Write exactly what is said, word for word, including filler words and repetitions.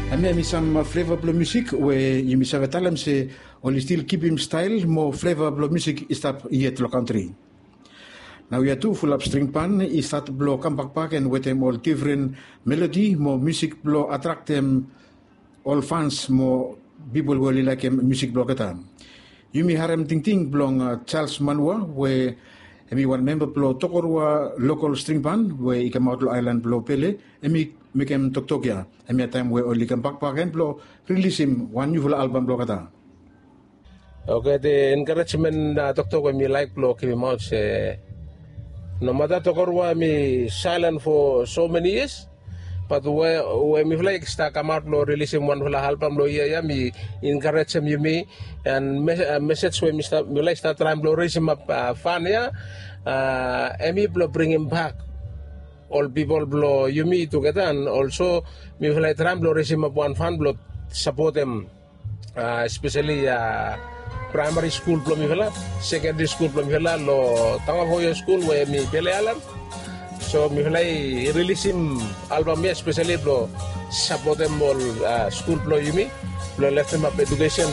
Hemia hemi sam fleva blong musik we yumi save talem se oli stil kipim stael mo fleva blong musik i stap yet long kantri. Naoia tu fulap string ban i stat blong kambakbak en wetem ol difren melodi mo musik blong atraktem ol fans mo pipol we oli laekem musik blong olgeta. Yumi harem tingting blong Charles Manua we hemi wan memba blong Tokorua lokol string ban we i kamaot long aelan blong Pele, hemi mekem toktok ya. Hemia taem we oli kambakbak gen blong rilisim wan niufala albam blong olgeta. Oke, the encouragement toktok we mi laek blong givimaot se nomata Tokorua hemi silent for so many years, bat we mifala i stap kamaot blong rilisim wanfala albam long yia ya mi encourajem yumi, and mesej we mifala i stap traem blong resimap fan ya, hemi blong bringimbak ol pipol blong yumi tugeta, and olso mifala i traem blong resimap wan fan blong sapotem espeseli praemari skul blong mifala, sekendari skul blong mifala long Tangavoyo skul we hemi Pele Aelan. So mifala i rilisim albam ya espeseli blong sapotem ol skul blong yumi blong leftemap edukesen